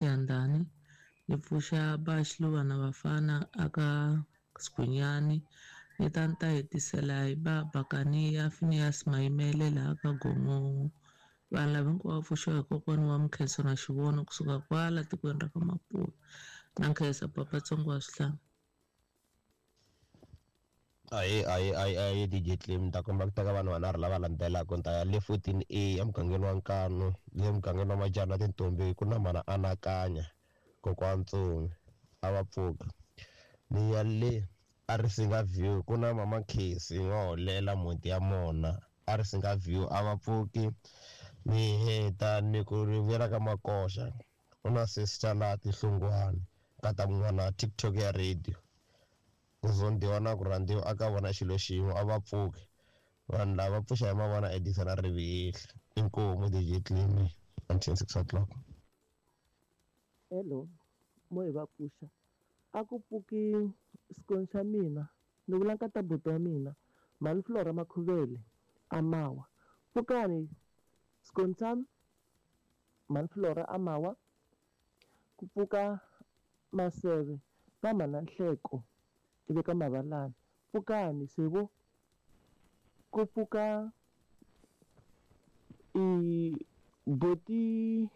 Yandani, ni pfuxa ba Xiluva na Vafana aka Sigwinyani, ni ta ni ta hetisela hi ba Bakaniya Phineas Mayimele laha ka Gongongo. Vanhu lava hinkwavo va pfuxiwa hi kokwana wa Mkhenso na Xivono kusuka kwala tikweni ra ka Mapuve. Na nkhensa papa Tsongo wa Swihlanga. Ahee, ahee, ahee, ahee, DJ Clem, ni ta komba ku teka vanhu vanharhu lava landzelaka. Ni ta ya le 14A emugangeni wa Nkanu, le mugangeni wa Majana Tintombi, ku na mhana Anakanya, kokwana Ntsumi, a va pfuka. Ni ya le a Risinga View, ku na mama Khesi n'waholela mhunti ya mona, a Risinga View, a va pfuki. Ni heta ni ku ri vuyela ka Makoxa, ku na sister laha Tinhlungwana, nkata mun'wana TikTok ya radio. Ku zondiwa na ku rhandziwa a ka vona xilo xin'we, a va pfuki. Vanhu lava va pfuxa hi mavona Edison na Rivihihla. Inkomu DJ Clem until 6 o'clock. Hello, mo hi va pfuxa. A ku pfuki xikoni xa mina, ni vula nkata buti wa mina, mhani Flora Makhuvele a Mawa. Pfukani xikoni xa mhani Flora a Mawa, ku pfuka Maseve na mhana Nhleko ivi ka Mavalani. Pfukani se vo, ku pfuka i boti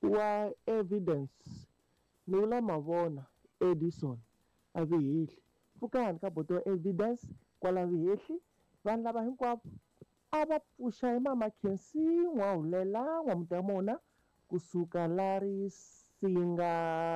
wa Evidence, ni vula Mavona Edison a Vihehli. Pfukani ka boti wa Evidence kwala Vihehli. Vanhu lava hinkwavo a va pfuxa hi mama Khensi N'wahulela N'wamuti ya mona kusuka la Risinga.